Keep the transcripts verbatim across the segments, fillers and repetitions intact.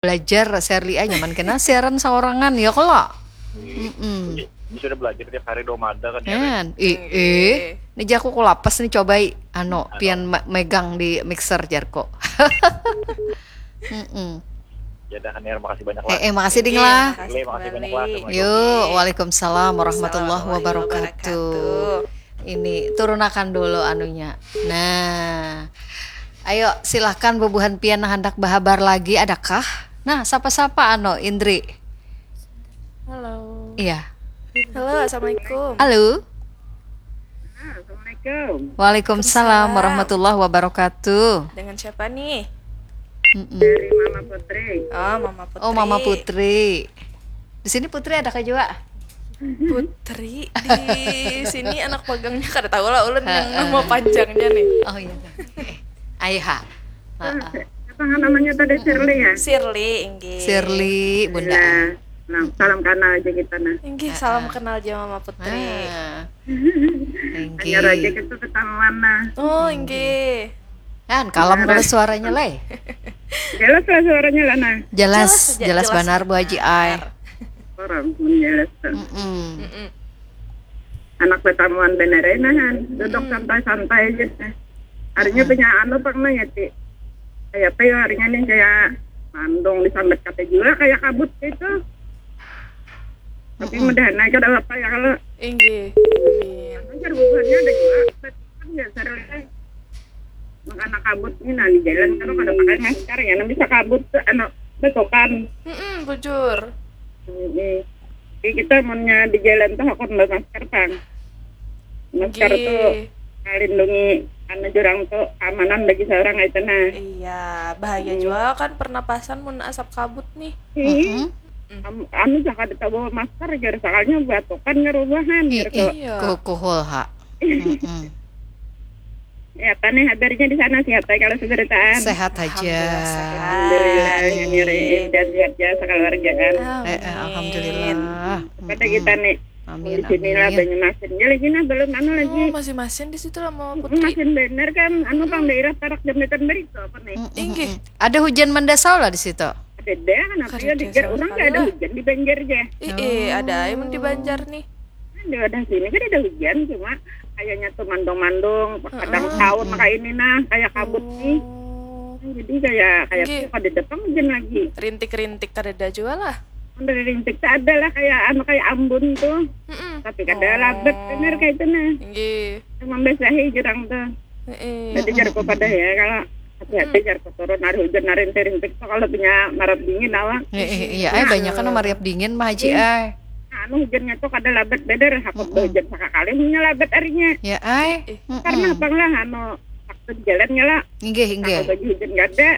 Belajar Sherly ah, nyaman kena siaran saorangan ya kalo. Mm-mm. Ini sudah belajar tiap hari dua mada kan ya. Ren? Kan, ih, ih. Ini jaku ku lapas nih, cobai anu pian me- megang di mixer jarku. Mm-mm. Ya dah, Aniar, makasih banyak lah. Eh, eh, makasih ding lah. Makasih banyak lah. Assalamualaikum. Yuk, waalaikumsalam warahmatullahi wabarakatuh. Ini turunakan dulu anunya. Nah, ayo silahkan bubuhan pian nang handak bahabar lagi, adakah? Nah, sapa-sapa anu Indri? Halo. Iya. Halo, assalamualaikum. Halo. Assalamualaikum. Waalaikumsalam warahmatullahi wabarakatuh. Dengan siapa nih? Mm-mm. Dari Mama Putri. Oh, Mama Putri. Oh, Mama Putri. Di sini Putri adakah juga? Putri di sini anak magangnya kada tahu lah ulun yang nama panjangnya nih. Oh iya. Ayo ha. Heeh. Apa namanya tadi, Shirley ya? Shirley, inggih. Shirley, Bunda. Ya. Nah, salam kenal aja kita nah. Inggih, salam kenal aja Mama Putri. Ah. Hanya aja Inggih. Kita ketahuan nah. Oh, inggih. Kan kalem kalau suaranya, Leh. Jelas lah suaranya lah nah. Jelas, Jelas aja, jelas jelas banar Bu Haji ai. Orang pun jelas tuh. Mm-mm. Mm-mm. Anak ketahuan bener ya nah. Duduk santai-santai aja nah. Harinya punya anu pang nah ya, Ti. Kayak apa ya harinya nih, kayak mandung disambat kata juga, kayak kabut gitu. Tapi mudahan aja ada apa ya kalau Inggih. Amin. Ajar bubuhannya ada juga. Kan ya, Shirley. Makanan kabut ini nah di jalan kalau kada pakai masker ya, nah bisa kabut tuh, anu, betokan. Mm-mm, bujur. Mm-mm. Jadi kita munnya di jalan tuh hakun bawa masker pang. Masker Nggih. Tuh melindungi anu jurang tuh keamanan bagi seorang itu nah. Iya, bahaya juga kan pernapasan mun asap kabut nih. Ih, Mm-mm. am- anu jangan kita bawa masker jar, soalnya batokan ngerubahan Ih, jar ih, tuh. Iya. kukuhul ha. Mm-mm. Ya apa nih kabarnya di sana, siapa kalau seberitaan? Sehat aja. Alhamdulillah sehat. Alhamdulillah, nyari dan sehat ya sekeluargaan. Eh, eh, alhamdulillah. Pada kita nih Amin, di sini lah amin. Banyumasin. Ya lagi nah belum anu lagi. Oh, masih masin di situ lah Mama Putri. Masin bener kan, anu pang daerah Parak Jambatan Beritu apa nih? Mm-mm. Inggih. Ada hujan mandasau lah di situ. Ada deh, kenapa Kada ya ada dijar sama orang sekali kayak ada lah. Hujan di Banjar aja. Ih, ih, ada aja mun di Banjar nih. Di wadah sini kan ada hujan, cuma kayaknya tuh mandung-mandung, kadang Heeh. tahun kayak ini nah, kayak kabut nih. Oh. Jadi kayak kayak Nggih. tuh kada datang hujan lagi. Rintik-rintik kadada juga lah. Dari rintik tuh ada lah kayak anu, kayak ambun tuh. Mm-mm. Tapi kada labat bener kayak itu nah. Inggih. Membasahi jurang tuh. Heeh. Jadi jar ku pada ya kalau hati-hati jar ku turun hari hujan hari rintik-rintik tuh kalau punya marap dingin awak. Eh, eh, iya, eh, banyak kan mariap dingin mah Haji ai. Nah, anu hujannya tuh kada labat beder, aku hujan sakakali punya labat harinya. Ya ai. Karena apa lah anu waktu di jalannya lah, Inggih, aku inggih. baju hujan kada.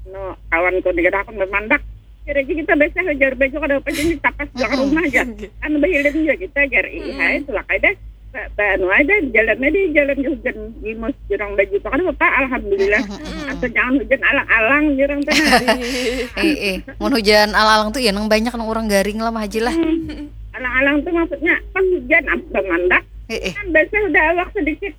No, kawan ku nih aku memandak. Kira aja kita biasa hajar baju kada apa jadi tapas belakang rumah aja. Anu bahilir juga kita jar ih hai tulak aja. Ba- ba- anu aja jalan aja jalan hujan gimus jurang baju tuh kan apa alhamdulillah. Asal jangan hujan alang-alang jurang tuh nah. Eh, eh. Mun hujan alang-alang tuh ya nang banyak nang orang garing lah mah Haji lah. Alang-alang tuh maksudnya pas hujan apa mandak Eh, eh. Kan basah udah awak sedikit.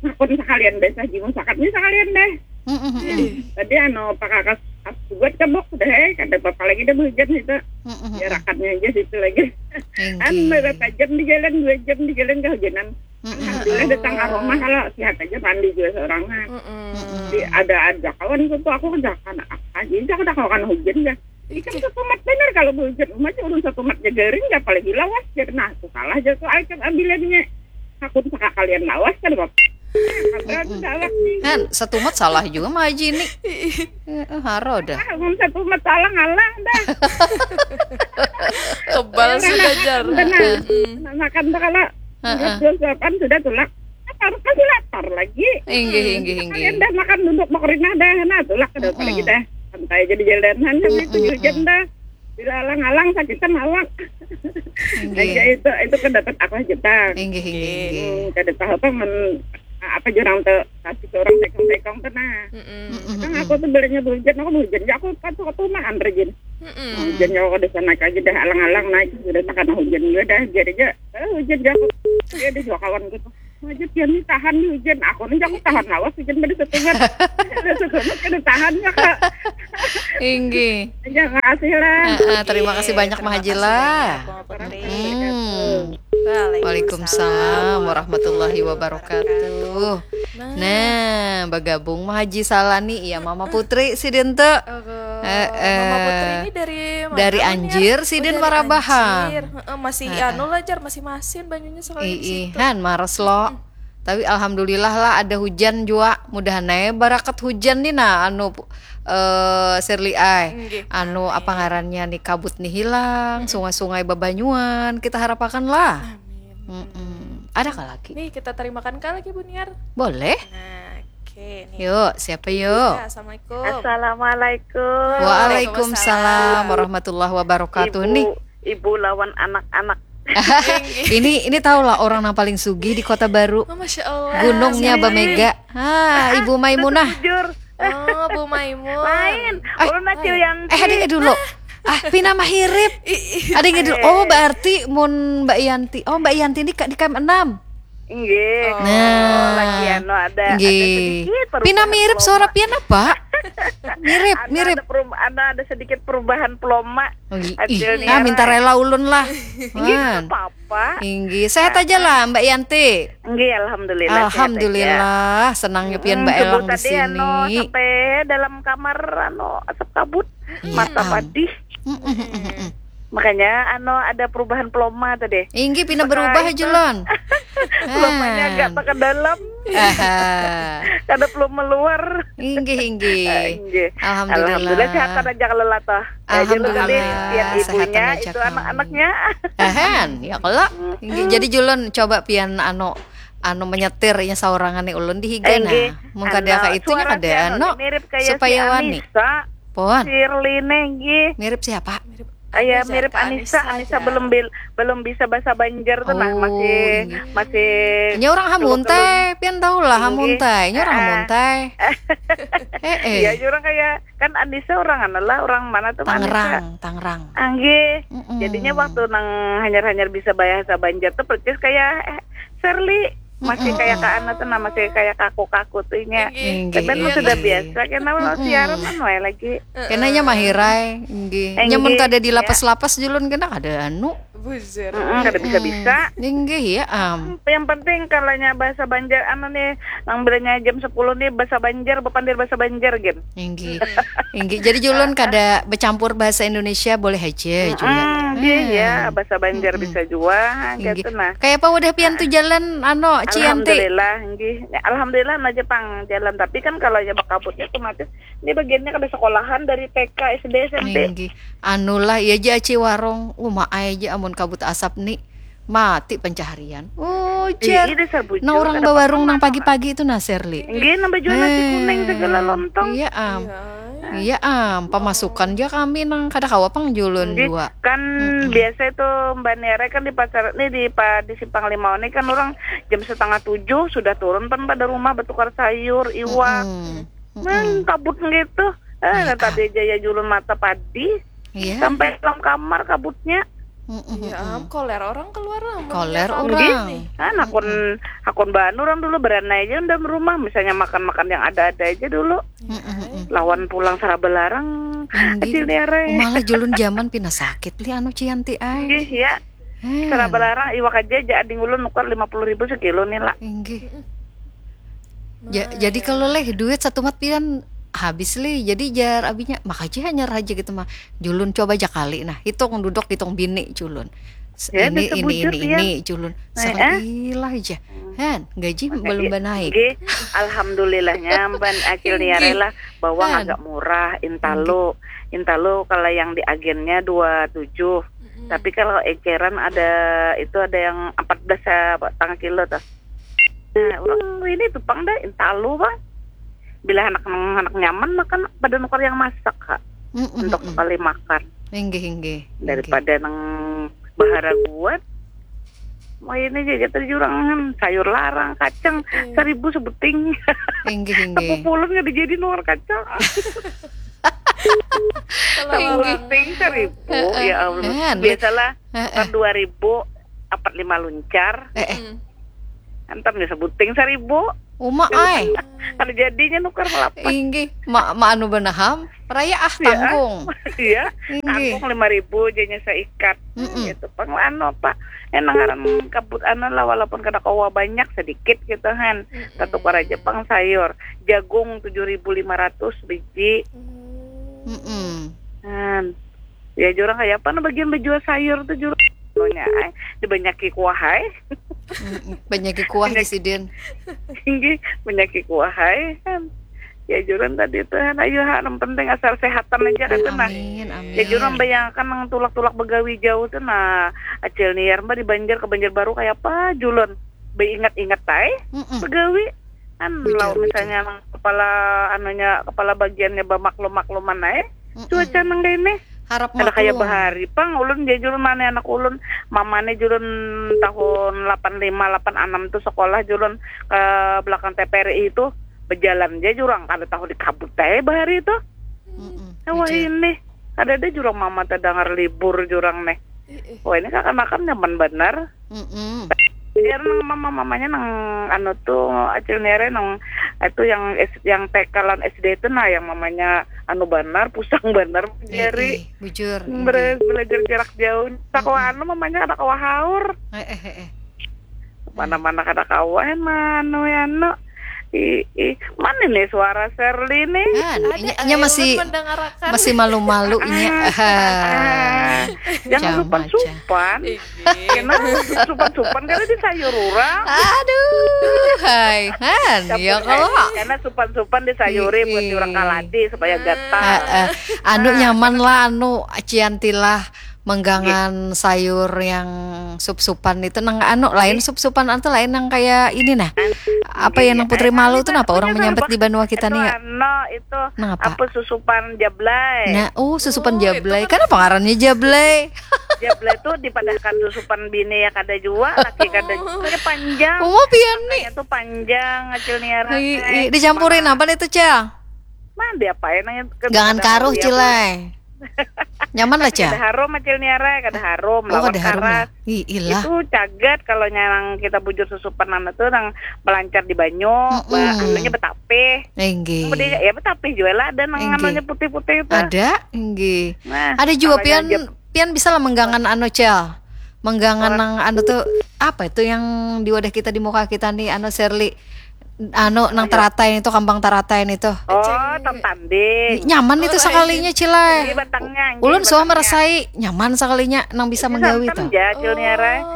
Nah, pun sekalian basah jimu sakatnya sekalian deh. Mm-mm. Tadi anu pakakas as buat kebok sudah eh kada apa-apa lagi dah hujan itu. Mm-mm. Ya rakatnya aja situ lagi. Kan Inggih. berapa jam di jalan, dua jam di jalan kehujanan. Alhamdulillah datang ke rumah kalau sehat aja mandi juga seorang. Mm-mm. Jadi ada aja kawan ku tuh aku kerjakan apa aja, aku udah kawan hujan dah. Ikan satumat bener kalau hujan umat urun satumat garing apalagi lawas jadi nah aku kalah jatuh ikan ambilannya. Aku sakakalian lawas kan bapak. Apa tuh galak nih. Kan satumat salah juga mah Haji ini. Eh, eh, haro dah. Ah, mun satumat salah ngalah dah. Kebal sudah jar. Benar. Nah, makan tuh kalau Heeh. dua suapan sudah tulak. Lapar masih lapar lagi. Inggih, inggih, Kalian inggih. Dah makan duduk makrina dah, nah tulak ke depan lagi dah. Santai aja di jalanan sambil itu hujan dah. Dilalang-alang sakitan awak. Aja Inggih. Itu itu kan dapat apa kita. Inggih, inggih, inggih. Hmm, kada tahu apa men apa jurang tuh kasih ke orang pekong-pekong tuh nah. Mm-mm. Kan aku tuh belinya hujan, aku hujan ya aku pas aku tuh makan rajin. Mm-mm. Hujan ya aku di sana aja dah alang-alang naik sudah takana hujan juga dah biar aja. Eh, hujan ya aku. Dia ada juga kawan gitu. Aja pian ni tahan ni hujan. Aku ni jangan tahan lawas hujan pada setungan. Ada setungan kada tahan ya, Kak. Inggih. Jangan kasih lah. Ah, ah, terima kasih banyak, Mah Haji lah. Mama Putri. Hmm. Waalaikumsalam. Waalaikumsalam warahmatullahi wabarakatuh. Nah. Nah, bergabung Mah Haji Salani, iya Mama Putri sidin tu. Aduh, Eh, eh. Mama Putri ini dari mana, Dari Wan, ya? Anjir, Oh, sidin dari Warabahan. Anjir. Heeh, masih Heeh. Anu lah, Jar, masih masin banyunya sekali di Ih, situ. han maras lo. Tapi alhamdulillah lah ada hujan jua. Mudahan ae barakat hujan ni nah, anu, eh, Sirli ai. Nggih, Anu, amin. Apa ngarannya ni, kabut ni hilang, sungai-sungai babanyuan, kita harapakan lah. Amin. Mm-mm. Ada kah lagi? Nih, kita terimakan kah lagi, Buniar? Boleh. Nah, oke nih. Yuk, siapa yuk? Ya, assalamualaikum. Assalamualaikum. Waalaikumsalam warahmatullahi wabarakatuh. Ibu, Nih, ibu lawan anak-anak. ini ini tahu lah orang yang paling sugih di Kota Baru. Oh, Masya Allah. Gunungnya Bamega. Ah, Ibu Maimunah. Bujur. Oh, Bu Maimun. Lain. Eh, Ulun Acil Yanti. Eh, ada dulu. Ah, pina mahirip. Ada dulu. Oh, berarti mun Mbak Yanti. Oh, Mbak Yanti ini Kak di K M enam. Nggih. Oh. Nah. Lagi anu ada, ada Nggih. sedikit perubahan Pina mirip peloma. Suara pian apa? Mirip, Ada, mirip. ada, perum- ada, ada sedikit perubahan peloma. Oh, i- Hasilnya ih, nah, minta lah. Rela Ulun lah. Nggih, Man. apa-apa. Inggih, sehat aja lah Mbak Yanti. Nggih, alhamdulillah. Sehat aja. Alhamdulillah, senangnya pian Mm, Mbak subuh Elang di tadi anu sini. Sampai dalam kamar anu asap kabut, Iya, mata am. Padih. Mm, mm, mm, mm, mm. Makanya anu ada perubahan peloma tadi. Inggih, pina berubah aja, Lon. Pelomanya agak tak ke dalam, Aha. kada peloma luar. Inggih, inggih. Nggih. Alhamdulillah. Alhamdulillah sehat aja kalau lah toh. Aja Alhamdulillah, tadi pian sehat ibunya aja, itu Kak. Anak-anaknya. Ahan, ya kalau. Inggih, jadi Julun coba pian anu anu menyetir nya saurangan nih ulun di higa Eh, nggih. nah. Mun kada Anu, kayak itunya suara kada si anu mirip kayak supaya si wani. Anissa. Pon. Shirley nih nggih. Mirip siapa? Kayak Anissa, mirip Kak Anissa, Anissa Anissa aja. belum bil- belum bisa bahasa Banjar tuh nah Oh, masih iya. masih Ini orang Hamuntai, pian tahu lah Inggih. Hamuntai. Ini orang Ah. Hamuntai. Eh, eh. Iya, orang kayak kan Anissa orang anu lah, orang mana tuh Anissa? Tangerang, Tangerang. Anggih. Mm-mm. Jadinya waktu nang hanyar-hanyar bisa bahasa Banjar tuh persis kayak eh, Shirley. Masih Mm-mm. Kayak Kak Ana tuh nah, masih kayak kaku-kaku tuh nya. Inggih. Inggih, Tapi emang iya, sudah iya. Biasa kena Mm-mm. siaran anu ae lagi. Kenanya mahirai, inggih. Eh, Nyamun inggih, kada di ya. lapas-lapas Julun kena kada anu. Buzzer. Mm-mm, kada bisa-bisa. Inggih ya am. Yang penting kalanya bahasa Banjar anu nih, nang bilanya jam sepuluh nih bahasa Banjar, bapandir bahasa Banjar gin. Inggih. Inggih. Jadi Julun kada bercampur bahasa Indonesia boleh aja juga. Hmm, iya, iya, bahasa Banjar Mm-mm. bisa juga Inggih. gitu nah. Kayak apa udah pian tuh jalan anu Cianti? Alhamdulillah, nggih. Alhamdulillah aja pang jalan, tapi kan kalau ya bakabutnya otomatis ini bagiannya kada sekolahan dari T K, S D, S M P. Inggih. Anulah iya aja aci warung. Uma aja amun kabut asap nih mati pencaharian. Oh, Iya, jar. iya, sabujur, Nah, orang kada bawarung apa-apa, nang Mak. Pagi-pagi itu nah Serli. Nggih, nambah jual nasi kuning segala lontong. Iya am. Iya. Iya am, pemasukan aja kami nang kada kawa pang Julun Nggih, jua. Kan Mm-mm. Biasa itu Mbak Nere kan di pasar nih di pa- di Simpang Limau nih kan orang jam setengah tujuh sudah turun pan pada rumah bertukar sayur, iwak. Mm-mm. Nah, kabut gitu. Eh, Iya, tadi aja ya Julun mata Padi Iya. Sampai dalam kamar kabutnya. Mm-mm. Ya am, koler orang keluar lah. Koler Amunnya orang. Nih. Kan akun akun banu orang dulu beranai aja dalam rumah, misalnya makan-makan yang ada-ada aja dulu. Mm-mm. Lawan pulang sarabalarang Inggih. Acil Nere. Malah Julun zaman pina sakit li anu Cianti ai. Inggih ya. Heh. Sarabalarang iwak aja aja ading ulun nukar lima puluh ribu sekilo nih lah. Inggih. Ja- jadi kalau leh duit satu mat pian habis li. Jadi jar abinya makasih hanyar aja gitu mah. Julun coba aja kali nah. Hitung duduk hitung bini Julun. S- Ya, ini itu ini bujur, ini Pian. Ini Julun. Nah, Sekali lah aja. Han, gaji belum Iya, banaik. Nggih, alhamdulillahnya ban Acil Niare lah bawang Han. Agak murah, intalu. Intalu kalau yang di agennya dua tujuh. Tapi kalau eceran ada itu ada yang empat belas ya, tangah kilo tuh. Nah, orang ini tuh pang dah intalu bang. Bila anak anak nyaman makan pada nukar yang masak kak. Mm-mm, Untuk mm-mm. Sekali makan Inggih inggih. Daripada nang bahara buat. Mau ini aja tadi jurang sayur larang, kacang seribu sebuting. Inggih inggih. Sepupulun nggak dijadi nukar kacang. Kalau orang Sebuting seribu, ya Allah. Kan, Biasalah Heeh. kan dua ribu empat lima luncar. Eh, eh. Hmm. Antam nya sebuting seribu. Uma ai. Kada jadinya nukar lapan. Inggih, ma, ma anu benaham. Raya ah tanggung. Iya. Inggih. Tanggung lima ribu janya seikat. Mm -mm. Gitu. Pang anu apa? Enang ngaran kabut anu lah walaupun kada kawa banyak sedikit gitu kan. Mm -mm. Tatukar aja pang sayur. Jagung tujuh ribu lima ratus biji. Mm -mm. Kan. Ya jurang kayak apa nah bagian berjual sayur tuh jurang. Nya, eh, dibanyaki kuah ai. Banyaki kuah di sidin. Tinggi, banyaki kuah ai kan. Ya juran tadi tuh kan ayo ha nang penting asal sehatan aja kan nah. Amin, amin. Ya juran bayangkan nang tulak-tulak begawi jauh tuh nah. Acil niar mbak di Banjar ke Banjar Baru kayak apa julon. Beingat-ingat ai. Mm -mm. Begawi. Kan kalau misalnya kepala anunya kepala bagiannya bamaklum-makluman ae cuaca nang ini harap ada kayak bahari pang ulun dia julun mana anak ulun mamane julun tahun lapan lima lapan enam tuh sekolah julun ke belakang T P R I itu berjalan dia jurang kada tahu di kabut ae bahari itu wah ini ada ada jurang mama terdengar libur jurang nih wah ini kakak makan nyaman benar Mm-mm. Biar nang mama mamanya nang anu tuh acil nere nang itu yang S, yang T K lan S D itu nah yang mamanya anu banar pusang banar jari eh, eh, bujur belajar jarak jauh tak mm anu mamanya kada kawa haur eh, eh, eh, eh. Mana-mana kada kawa anu anu Ih, ih. Mana nih suara Serli nih? Nah, nah, inya, inya masih masih malu-malu inya. Ah, ah, jangan supan-supan. Kena supan-supan karena di sayur orang. Aduh, hai, han, ya kalau. Karena supan-supan di sayur buat orang kaladi supaya gatal. Uh, uh. Anu nyaman lah, anu ciantilah menggangan sayur yang sup-supan itu nang anu lain sup-supan atau lain nang kayak ini nah apa ya nang putri malu tuh napa orang menyambat di banua kita nih ya anu itu nang apa apa susupan jablay nah oh susupan oh, jablay kan apa ngarannya jablay jablay tuh dipadahkan susupan bini ya kada jua laki kada jua ya panjang oh pian nih itu panjang acil niara dicampurin apa nih tuh cel Nah, dia apa ya nanya gangan karuh cilai. Nyaman lah, Cah. Kada harum acil niara, kada harum. Oh, kada harum lah. Ih, ilah. Itu cagat kalau nyarang kita bujur susupan anak tuh nang melancar di banyu, mm -mm. Anunya betapih. Inggih. Ya betapih juga lah ada nang anunya putih-putih itu. Ada, inggih. Nah, ada juga pian pian bisa lah menggangan anu, Cel. Menggangan nang anu tuh apa itu yang di wadah kita di muka kita nih anu Serli anu nang teratai itu kambang teratai itu oh tantanding nyaman itu sekalinya cilai ulun suah merasai nyaman sekalinya nang bisa menggawi itu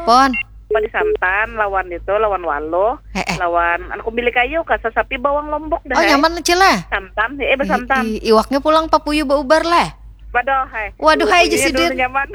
pon pada santan lawan itu lawan waluh eh, eh. Lawan anu kumbili kayu ka sasapi bawang lombok dah oh nyaman cilai santan eh bersantan I, i, iwaknya pulang papuyu beubar lah waduh hai waduh hai jadi nyaman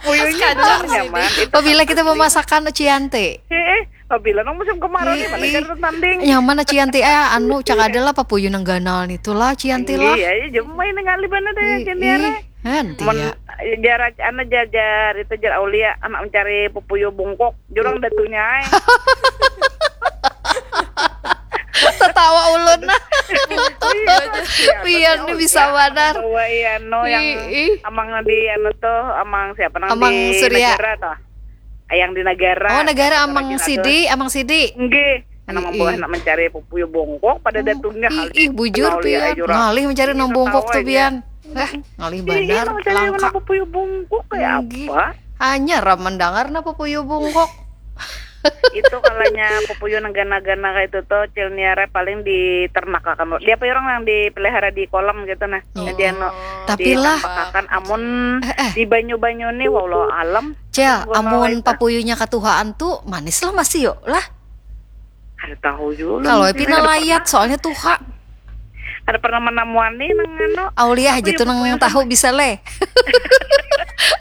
puyuhnya nyaman apabila kita memasakan cianti eh, eh. Pabila nang musim kemarau nih, mana jadi tanding. Nyaman aci anti eh anu cak ada lah papuyu nang ganal nih tuh lah aci anti lah. Iya, iya, jemai nang alih bana deh yang jendera. Nanti ya. Jar anu jar jar itu jar Aulia anak mencari pupuyu bungkuk jurang datunya ai. Tertawa ulun nah. Pian nih bisa banar. Bawa iya no yang amang di anu tuh amang siapa nang amang di Surya. Negara tuh. Ayang di negara. Oh, negara Amang Sidi, Amang Sidi. Nggih. Anak membawa anak mencari pupuyu bongkok pada datungnya ih, ih bujur pian. Ngalih mencari nang bongkok tuh pian. Eh, ngalih bandar. Mencari anak pupuyu bongkok kayak apa? Hanya ram mendengar napa pupuyu bongkok. Itu kalanya pupuyu nang gana-gana kayak itu tuh cilniara paling diternak akan dia apa orang yang dipelihara di kolam gitu nah. Jadi anu tapi lah amun eh, eh. Di banyu-banyu nih walau alam Cel, amun papuyunya katuhaan tuh manis lah masih yuk lah. Ada tahu juga. Kalau pina layat soalnya tuha. Ada pernah menemuan nih nang anu. Auliah aja tuh nang tahu bisa leh.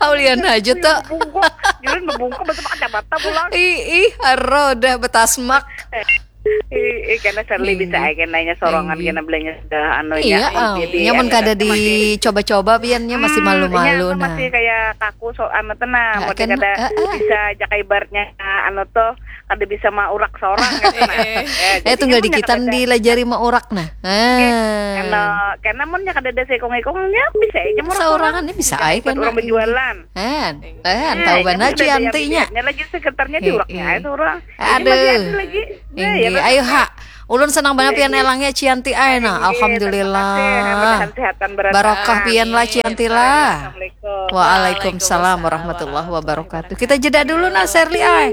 Aulian aja tuh. Bungkuk, jadi bungkuk betul kacamata pulang. Ih, ih, haro udah betasmak. Eh. Ih, ih, karena Sherly bisa aja nanya sorangan, karena belanja sudah anu Iya, ya. ah, nyaman kada dicoba-coba pian nya masih malu-malu nah. Masih kayak kaku so anu tenang, Ya, mau kan, kada ah, ah. Bisa jaga ibaratnya anu tuh kada bisa maurak seorang gitu nah. Ya, Eh jadi tunggal mun dikitan kada- dilajari maurak nah. Anu, Ah. karena mun nya kada ada seikung-ikungnya bisa aja maurak Seorang ini bisa aja Dapat kan. Orang berjualan. Han, han, tahu Nah, banar itu udah daya Cianti nya. bibirnya lagi sekretarnya Eh, diuraknya eh. itu orang. Aduh. Masih ada lagi. Nah, ya, Inggih, ayo ha. Ulun senang banget pian elangnya Cianti ai nah. Inggih, terima kasih. Alhamdulillah. Mudah-mudahan sehat dan berat. Barokah pian lah Cianti lah. Assalamualaikum. Waalaikumsalam warahmatullahi wabarakatuh. Kita jeda dulu nah Sherly ai.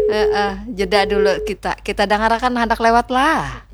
Heeh, jeda dulu kita. Kita dengarkan handak lewat lah.